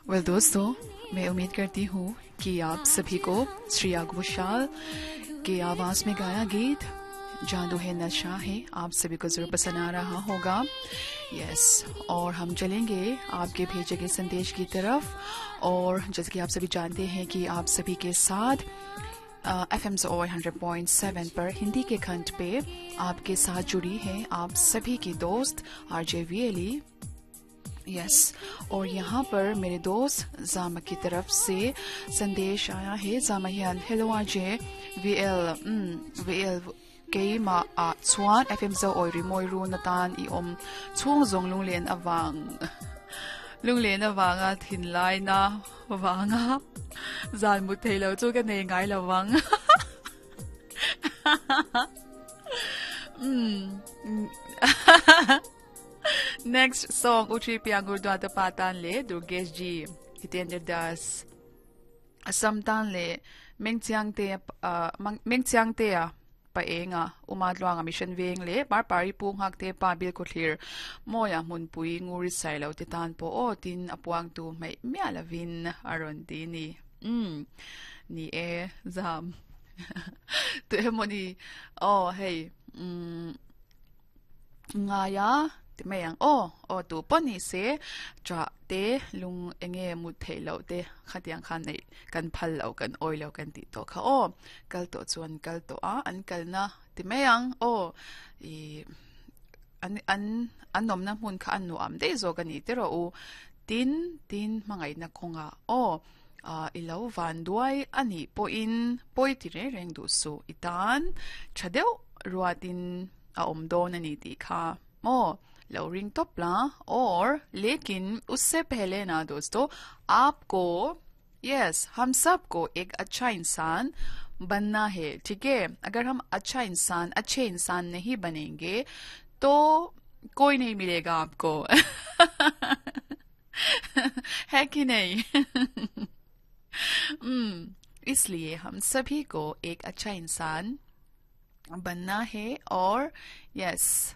Well दोस्तों, मैं उम्मीद करती हूँ कि आप सभी को श्रेया घोषाल के आवाज में गाया गीत जादू है नशा है आप सभी को जरूर पसंद आ रहा होगा। यस, और हम चलेंगे आपके भेजे गए संदेश की तरफ। और जैसे कि आप सभी जानते हैं कि आप सभी के साथ एफ एम और 100.7 पर हिंदी के खंड पे आपके साथ जुड़ी है आप सभी की दोस्त आरजे वीएली। यस, और यहाँ पर मेरे दोस्त जामा की तरफ से संदेश आया है। जामा हियान hello RJ VL VL keima a chuan FM zo oi ri moi ru na tan i om chung zong lung len awang lung len awanga thin lai na wanga zan mu thei lo chu ka nei ngai lawang. Next song Uchi Piangur Dwata Patan le Durgesh Ji Hitendra Das Assam tan le Mengchiang te Mengchiang te a pa enga uma tluanga mission veng le par pari pu ngak te pa bil ko thlir moya mun pui nguri sai lo te tan po o tin apuang tu mai mia lavin aron ti ni ni e zam tu emoni oh hey ngaya ti mai ang o o tu pawh ni se cha te lung enge mut theih loh te khatiang khan nei kan phal loh kan awi loh kan tih tawh kha aw kal tawh chuan kal tawh a an kalna ti mai ang aw ih an an an awmna hmun kha a nuam daih zawk a ni ti rawh u tin tin hmangaihna kawngah aw ah i lo van duai a nih pawhin pawi ti reng reng duh suh i tan tha deuh ruatin a awm dawn a ni tih kha maw lo ring tawp la or lekin usse pehle na dosto aapko yes hum sab ko ek acha insaan banna hai theek hai agar hum acha insaan achhe insaan nahi banenge to koi nahi milega aapko है कि नहीं? इसलिए हम सभी को एक अच्छा इंसान बनना है और यस